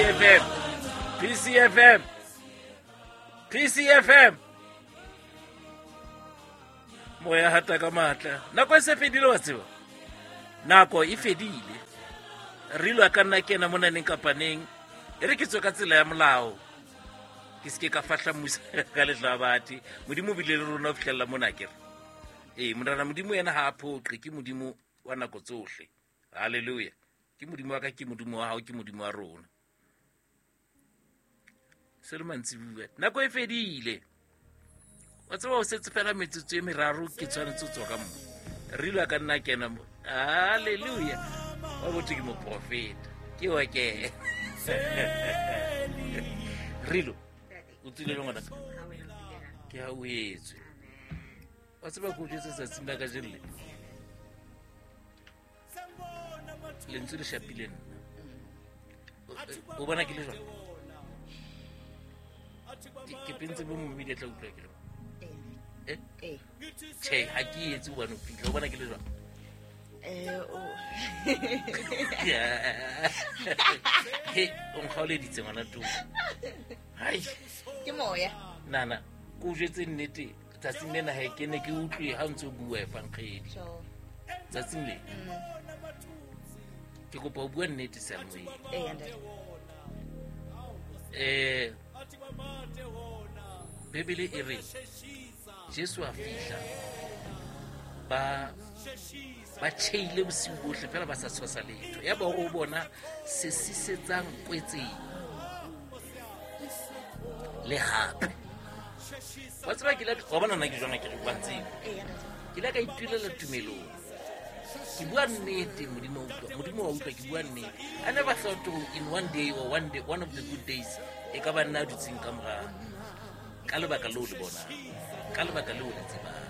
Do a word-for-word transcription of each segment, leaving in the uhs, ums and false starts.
P C F M, P C F M, P C F M, moya hata ka matla. Nako e se fedile, wa tseba, nako e fedile. Re ilwa ka nna kena mo naneng kapa neng. E re ke tswe ka tsela ya molao, ke seke ka fahla mmusa ka letlabati. Modimo o bile le rona ho fihlella mona. Kere ee, morena Modimo yena ha a phoqe, ke Modimo wa nako tsohle. Halleluja! Ke Modimo wa ka, ke Modimo wa hao, ke Modimo wa rona. Se le mantsibua, nako e fedile, wa tseba, o setse fela metsotso e meraro, ke tshwanetse ho tswa ka mo. Re ilwa ka nna kena mo. Halleluja! Wa botho ke moprofeta, ke wa ke rilo o tswile le ngwanaka ke ha o etswe. Wa tseba, ko jwetse tsatsing la kajeno le lentswe le shapile nna. O- o bona ke le jwang? Ke- ke pentse bo momedi a tla utlwa ke le eh Ee. Tjhe, ha ke etse hobane o fitlha. O bona ke le jwang? Eh, o- He, o nkgaoleditse, ngwana tu. Hai. Ke moya. Nana, ko o jwetse nnete, tsatsing lena he ke ne ke utlwe ha o ntse o bua efankgedi. Sure. Tsatsing le ke kopa o bua nnete seyalemoyeng. Ee, ntate. um Bebele e re Jesu a fihla, ba ba tjheile bosiu bohle fela ba sa tshwasa letho. Ya ba o bona se sisetsang kwetseng le hape, wa tseba, ke ile wa bona nna ke jwana, ke re wa tseba. Ee, ntate. Ke ile ka itulela tumelong. Ke bua nnete, Modimo wa utlwa, Modimo wa utlwa, ke bua nnete. I never thought to in one day or one day, one of the good days, e ka ba nna a dutseng ka mora ka lebaka leo le bonang, ka lebaka leo le tsebang.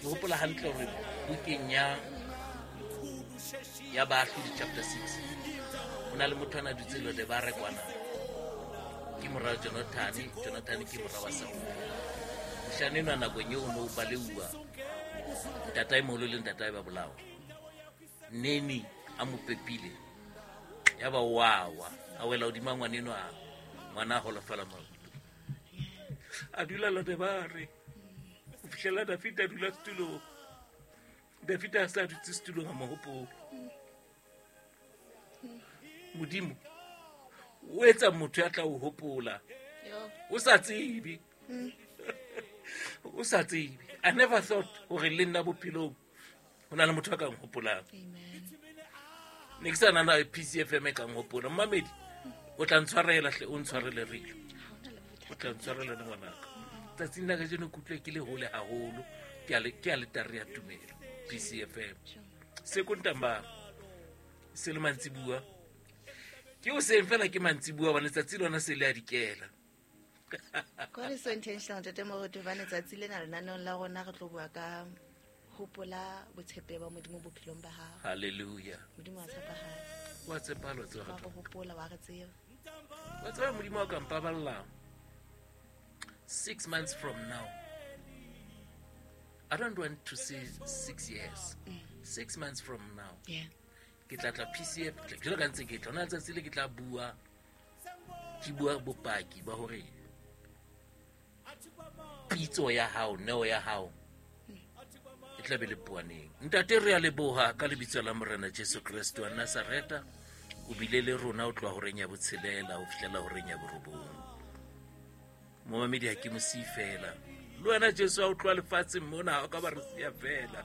Ke hopola hantle hore bukeng ya ya Baahlodi chapter six, ho na le motho a na dutse Lode ba re kwana, ke mora wa Jonathane. Jonathane ke mora wa Saule. Moshane enwa nakong eo o ne o baleuwa, ntatae moholo le ntatae ba bolawa. Neni a mo pepile, ya ba wawa, a wela hodima ngwana enwa, ngwana a holofala maoto, a dula Lodebare ho fihlela Dafita a dula setulong. Dafita a sa dutse setulong, a mo hopola. Modimo o etsa motho ya tla o hopola Yo. o sa tsebe, o sa tsebe. I never thought hore le nna bophelong ho na le motho a ka nhopolang. Amen. Ne ke sa nana P C F M e ka nhopola. Mmamedi o tla ntshwarela hle, o ntshwarele rilo. Ha hona le bothata. O tla ntshwarela le ngwanaka. Tsatsing la kajeno ke utlwe ke le hole haholo ke a le- ke aletare ya tumelo, P C F M. Sure. Sekontamba se le mantsibua, ke o seng fela ke mantsibua bane tsatsi lona se le a dikela. God is so intentional, ntate Moruti, hobane tsatsi lena lenaneong la rona re tlo bua ka hopola botshepehi ba Modimo bophelong ba hao. Halleluja! Modimo wa tshepahala. Wa tshepahala, wa tseba. Wa re hopola, wa re tseba. Wa tseba, Modimo wa ka mpaballang six months from now, I don't want to say six years, six months from now, Yeah. ke tla tla P C F jalo ka ntse ke tla ona letsatsi le ke tla bua, ke bua bopaki ba hore pitso ya hao, neo ya hao e tla be le poaneng. Ntate, re a leboha ka lebitso la Morena Jesu Kreste wa Nazareta. O bile le rona o tloha horeng ya botshelela ho fihlela horeng ya borobong. Momamedi ha ke mo siye fela le wena. Jesu ha o tloha lefatsheng mona, ha o ka ba re siya fela,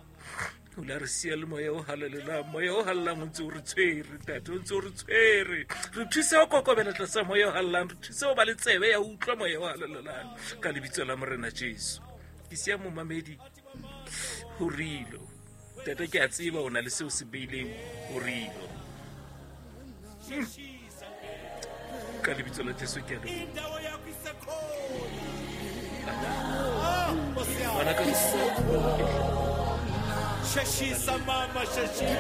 o la re siya le moya o halalelang. Moya o halalelang o ntse o re tshwere, ntate, o ntse o re tshwere. Re thuse ho kokobela tlasa moya o halalelang, re thuse ho ba le tsebe ya ho utlwa moya o halalelang ka lebitso la Morena Jesu. Ke siya momamedi ho rilo. Ntate, ke a tseba o na le seo se beileng ho rilo. Mm. Ka lebitso la Jesu ke a leboha. Ngwanaka. Sheshisa mama, sheshisa.